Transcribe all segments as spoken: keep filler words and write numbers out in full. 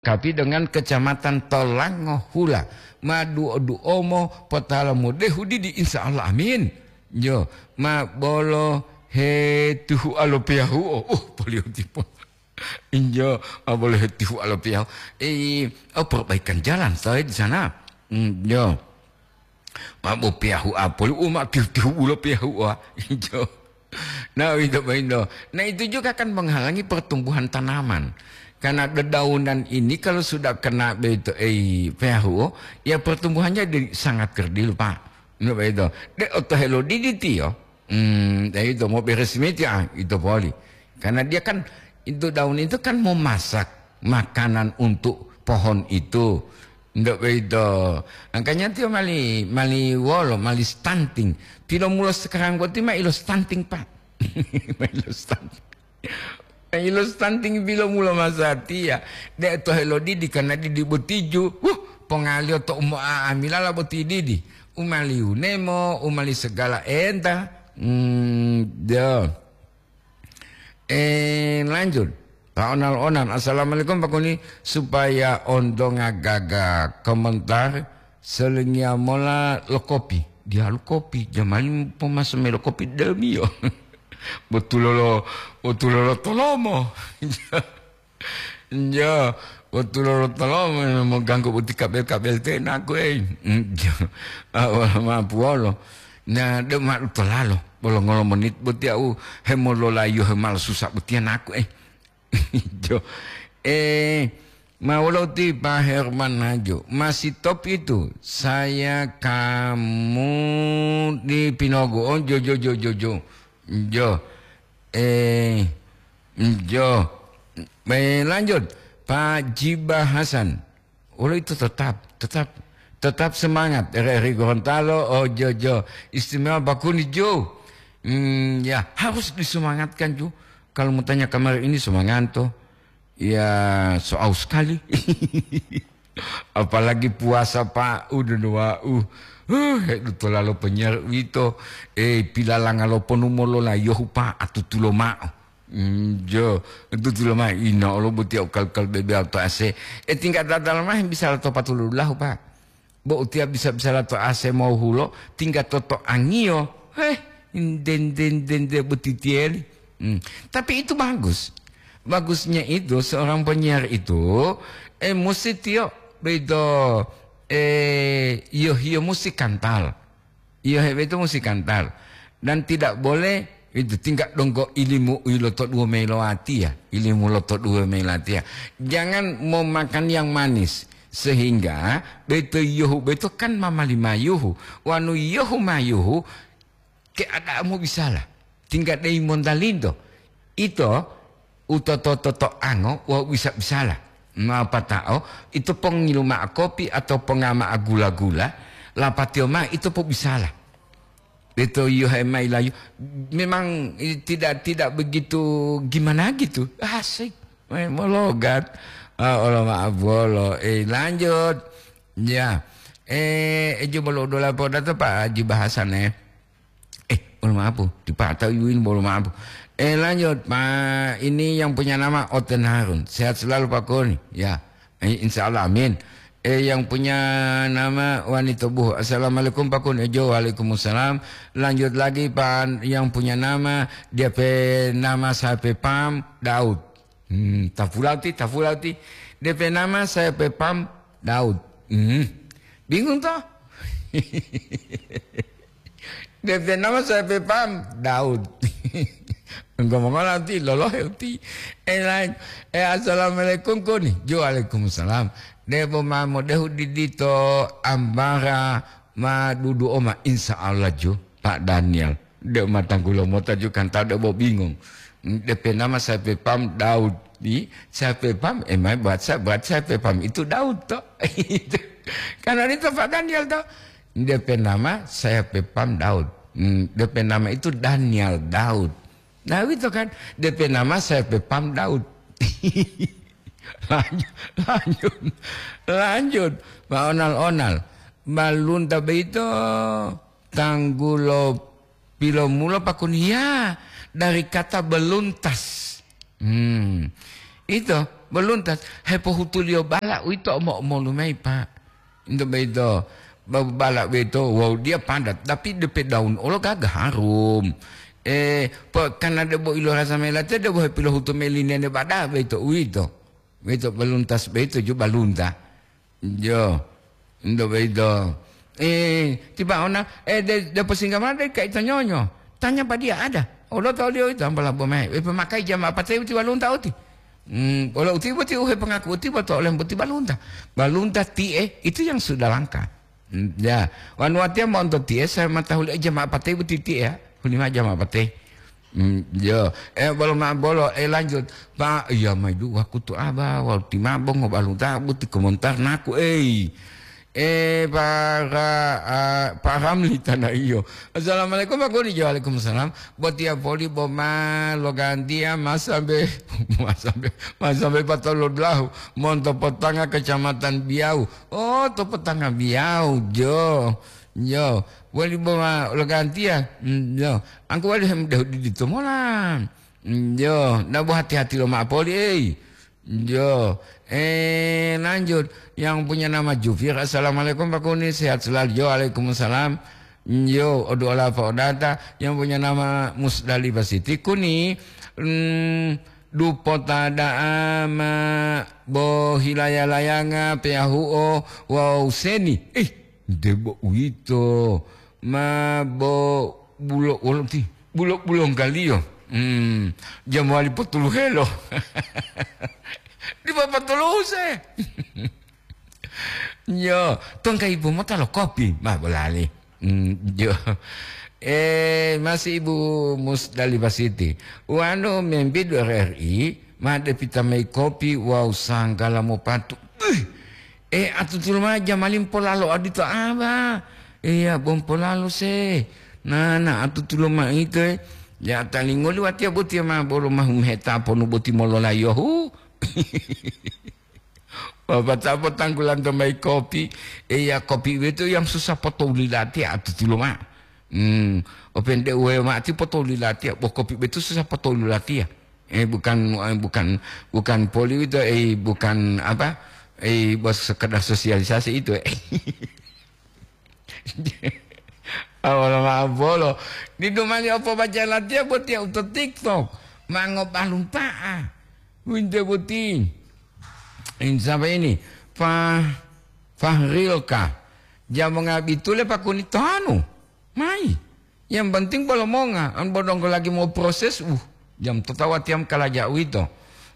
Kapi dengan Kecamatan Tolango Hula. Ma duo-duomo potala modehu didi, insya Allah, amin. Jo, ma bolo he tihu alo piyahuo. Uh, polio tipo. Injo, ma bolo he tihu alo piyahu. Eh, oh, perbaikan jalan saya di sana. Hmm, jo. Ma bo piyahu apoli, u ma tihu-tihu ulo piyahu, wah. Injo. Nah, itu, itu. Nah, itu juga kan menghalangi pertumbuhan tanaman. Karena dedaunan ini kalau sudah kena begitu, eh, piyahu, ya pertumbuhannya di, sangat kerdil, Pak. Nah, itu. De oto helo didi tiyo. Hmm, ya itu, mau beres miti, ah, itu poli. Karena dia kan, itu daun itu kan memasak makanan untuk pohon itu. Ndak begitu. Angkanya tiyo mali, mali wolo, mali stunting. Pilomulo sekarang boti ma ilo stunting, Pak. Ma ilo stunting. Ma ilo stunting pilomulo masatiya. De to helo didi karena didi botiju. Huh, pongalio to umo aamilala boti didi. Umali unemo, umali segala enta. Hmm, do. Eh, lanjut. Pak Onal-onal, "Assalamualaikum, Pak Kuni. Supaya ontonga gaga komentar, selingia mola lo kopi." Dialu kopi, jamani pomaso melo kopi demiyo. Botulolo, botulolo tolomo. Njo, botulolo tolomo, moganggu boti kabel-kabel tenaku, eh. Njo, awala mapuolo. Na, de ma tolalo, bolo ngolo menit boti au hemololayo hemal susah boti anaku, eh. Jo. Eh, ma wolo ti Pak Herman Hajo. Masih top itu. Saya kamu di Pinogo. Oh, jo, jo, jo, jo, jo. Jo. Eh, jo. Eh, lanjut. Pak Jiba Hasan. Wolo itu tetap, tetap, tetap semangat. R R I Gorontalo, oh, jo, jo. Istimewa Bakuni, jo. Hmm, ya, harus disemangatkan, jo. Kalau mau tanya kamar ini semangat, toh. Ya, soal sekali. Apalagi puasa, Pak. Udah, wa'u. Huh, hedu tolalo penyiar wito. Eh, pilalanga lo ponu molola yohu, Pak, atutulo ma'o. Njo, tutulo ma'o, ina olo boti au kal-kal bebe auto A C. Eh, tingkat dadal mah bisa lato patulu dulahu, Pak. Bo utia bisa-bisa lato A C mau hulo, tingkat toto angiyo. Heh, den, den, den, den, boti tieli. Hmm. Tapi itu bagus. Bagusnya itu seorang penyiar itu, eh, mesti tiyo, begitu, eh, iyo, iyo mesti kantal. Iyo, hebe itu mesti kantal. Dan tidak boleh itu tingkat donggo ilimu u loto dua mei lo atiya, ilimu loto dua mei lo atiya. Jangan mau makan yang manis, sehingga beto yohu beto kan mamali mayuhu. Wanu yohu mayuhu, keadaanmu bisala. Tingkat dei montalindo. Ito utoto-toto ango wawu bisa-bisala. Mapatao ito pongilu ma'o kopi atau pongama'a gula-gula, lapatiyo ma'o ito pobisala. Ito yohe mayi layu, memang, eh, tidak, tidak begitu gimana gitu. Asik. Eh, mologat. Ah, olo ma'o bolo. Eh, lanjut. Ya. Eh, ejo bolo udola podato Pak Haji Bahasan, eh. Eh, bolo maaf, Bu. Dipatau iwin bolo maaf, Bu. Eh, lanjut, Pak. Ini yang punya nama Oten Harun. Sehat selalu, Pak Koni. Ya. Eh, insya Allah, amin. Eh, yang punya nama Wanita Buhu. Assalamualaikum, Pak Koni. Jo, waalaikumsalam. Lanjut lagi, Pak, yang punya nama, dia pe nama saya pe pam, Daud. Hmm, tapulau ti, tapulau ti. D P nama saya pe pam Daud. Hmm. Bingung toh? D P nama saya pe pam Daud. Engko mongola ti lolohe uti. Eh, lain. Eh, assalamualaikum koni. Jo, waalaikumsalam. Debo mamo dehu didito ambara ma dudu oma, insya Allah jo, Pak Daniel. De matanggulo mota ju kan ta de bo bingung. D P nama saya pe pam Daud. Di, saya pe pam, eh, mai buat saya, buat saya pe pam itu Daud to. Itu. Karena itu Pak Daniel to. D P nama saya pe pam Daud. Hmm, D P nama itu Daniel Daud. Nah, itu kan. D P nama saya pe pam Daud. Lanjut, lanjut, lanjut. Pak Onal-onal. Balunta beito tanggulo pilomulo pakun, ya, dari kata beluntas. Hmm. Itu, Baluntas, hepohutuliyo bala uwito omo-omolu mayi, Pak. Into boyito, ba-, bala boyito, wawu dia padat, tapi depe daun olo gaga harum. Eh, po-, karena debo ilo rasa mayi latiya, debo hepilohutu mayi li nene bada boyito, uwito. Boyito baluntas boyito ju balunta. Jo. Ndo boyito. Eh, tiba ona, eh, de, de posingga mao de kaito nyonyo. Tanya pa dia ada. Olo toliyo ito ambola bomae. Eh, pemakai jama apa te uti walunta uti. Hmm, olo uti boti uhe pengaku uti boto olem boti balunta. Balunta tie, itu yang sudah langka. Hmm, ya. Wanu atia monto tie, saya matahuli jama apa te boti tie, ya. Hulima jama apa te. Hmm, yo. Eh, bolo ma bolo, eh, lanjut. Pak, iya mai du wakutu aba, walu ti mabo ngobalu tabu ti komentar naku, ei. Eh, para, ah, Pak Ramli tanah iyo. Assalamualaikum, Pak Guru. Waalaikumsalam. Botiya poli boma logantiya masambe, masambe, masambe patolu dulahu. Monto Potanga Kecamatan Biau. Oh, to Potanga Biau, jo. Jo. Wali boma logantiya. Hmm, jo. Angku wali hem dehu didi to mola. Yo, nabo hati-hati lo ma'o poli, ei. Yo, eh, lanjut. Yang punya nama Jufir, "Assalamualaikum, Pak Kuni, sehat selalu." Yo, waalaikumsalam. Yo, odu ola Pak Odata. Yang punya nama Musdalifah Siti Kuni, mm, dupota da'a ma bo hilaya-layanga peyahu'o wawu seni. Ih, debo uwito. Ma bo bulo wolo ti. Bulo-bulonggaliyo. Hmm, ja mowali potuluhelo. Dipo potuluse. Yo, tongka ibu mota lo kopi, ma bolali. Hmm, yo. Eh, masih Ibu Musdalifah Siti. Wanu membidu R R I, ma depita mayi kopi wawu sanggala mopatu. Ih, eh, atutulo ma jamali mpolalo adito aba. Iya, bo mpolalo se. Nana, atutulo ma ito, eh. Ya, talingoli watiya botiya ma bolo mahum heta ponu boti mololayohu. Bapak tapo tanggulanto mayi kopi. Iya, kopi itu yang susah potoli latiya atutulo ma. Hmm, opende uwe mati potoli latiya, bo kopi itu susah potoli latiya. Eh, bukan, eh, bukan, bukan poli itu, eh, bukan apa, eh, bos sekedar sosialisasi itu, eh. Awal ma'o bolo. Didu mani opo baca latiya botiya uto TikTok. Ma ngobalunta'a. Winte boti. Ini siapa ini? Fah-, Fahrilka. Jamonga bitule pakuni tohanu. Mai. Yang penting bolo monga, an bodonggo lagi mau proses, uh, jam totawa tiam kalaja uwito.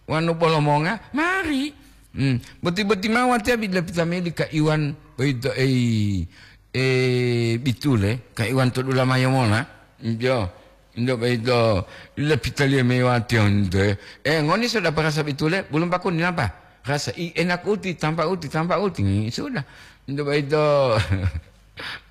Wanu bolo monga, mari. Hmm, boti-boti mawatiya bila pitamili ka Iwan, boyito, ei, eh, bitule, ka Iwan to dulamayo mona. Jo, indo boyito, bila pitaliya mewatiya onte. Eh, ngoni sudah parasa bitule, belum pakuni napa? Rasa i enak uti, tampa uti, tampa uti. Sudah. Indo boyito.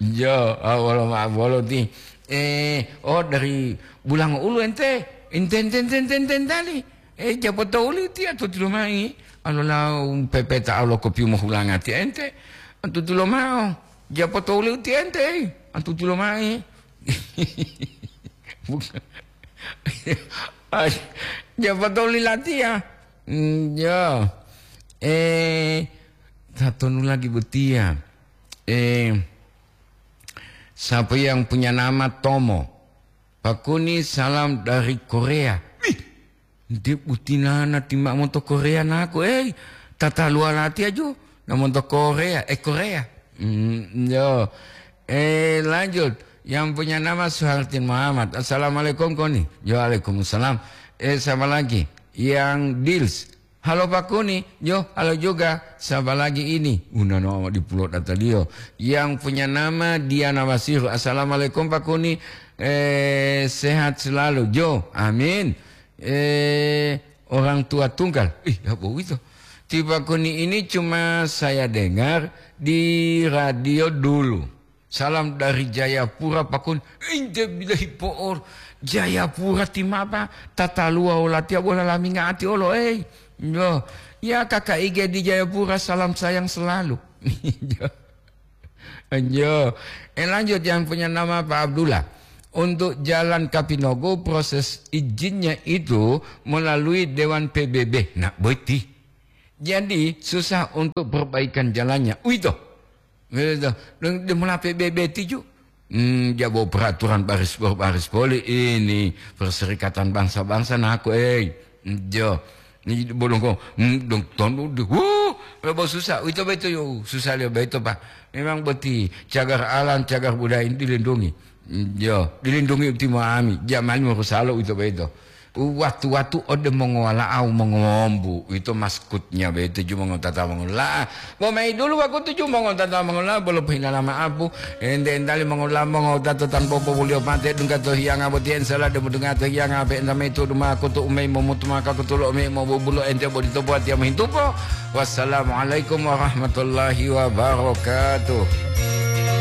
Jo, ah, wolo ma-, wolo ti. Eh, oh, dari Bulango Ulu ente. Ente, ente, ente, ente, ente, entali. Eh, japo to uli ti atutulo mai. Alola pepeta alo kopi mohulanga ti ente. Atutulo mao. Japo to uli ti ente, eh. Atutulo mai. Bukan. Ay, japo to uli latiya. Hmm, ya. Eh, tatonu lagi botiya. Eh, siapa yang punya nama Tomo? Pakuni salam dari Korea. Wih, nde butinana tima monto Korea naku, eh, tataluwa latiya ju, na monto Korea, eh, Korea. Hmm, yo. Eh, lanjut. Yang punya nama Suhartin Muhammad. Assalamualaikum, Koni. Yo, waalaikumsalam. Eh, siapa lagi? Yang Dils. Halo Pak Kuni, yo, halo juga. Siapa lagi ini? Unano amat dipulo dataliyo. Yang punya nama Diana Wasiru. Assalamualaikum Pak Kuni. Eh, sehat selalu. Jo, amin. Eh, orang tua tunggal. Ih, apa itu? Ti Pak Kuni ini cuma saya dengar di radio dulu. Salam dari Jayapura, Pak Kun. Inte bilahi po'or. Jayapura ti mapa? Tataluwa olatiya bola laminga ati olo, ei. Yo. Ya, Kakak Ige di Jayapura, salam sayang selalu. Yo. Eh, lanjut, yang punya nama Pak Abdullah. Untuk jalan Kapinogo, proses izinnya itu melalui Dewan P B B. Nah, boiti. Jadi, susah untuk perbaikan jalannya. Uwito. Uwito. Deng, deng mulape bebe tiju. Hmm, jabo peraturan baris per baris poli ini Perserikatan Bangsa-Bangsa naku, eh. Jo. Ni bolongko, hmm, dong tonu di, wuh, lebo susah. Uwito beto yo, susah liyo beto, Pak. Memang boti cagar alam, cagar budaya ini dilindungi. Hmm, jo, dilindungi utimo ami. Jamani morusalo uwito beto. Watu-watu ode mongowala'au mongowombu, uwito maskutnya boyito ju mongotata mongola'a. Bo mayi dulu wakutu ju mongotata mongola'a bolo pohilala ma'apu, ente-entali mongola'a mongotata tanpa popolio pate dungga to hiyanga botiya, insya Allah demu dungga to hiyanga pe'enta mayi tu'udu ma'akutu umayi momutu maka kutulo umayi mobubulo ente bodito buwatiya mohintupo. Wassalamualaikum warahmatullahi wabarakatuh.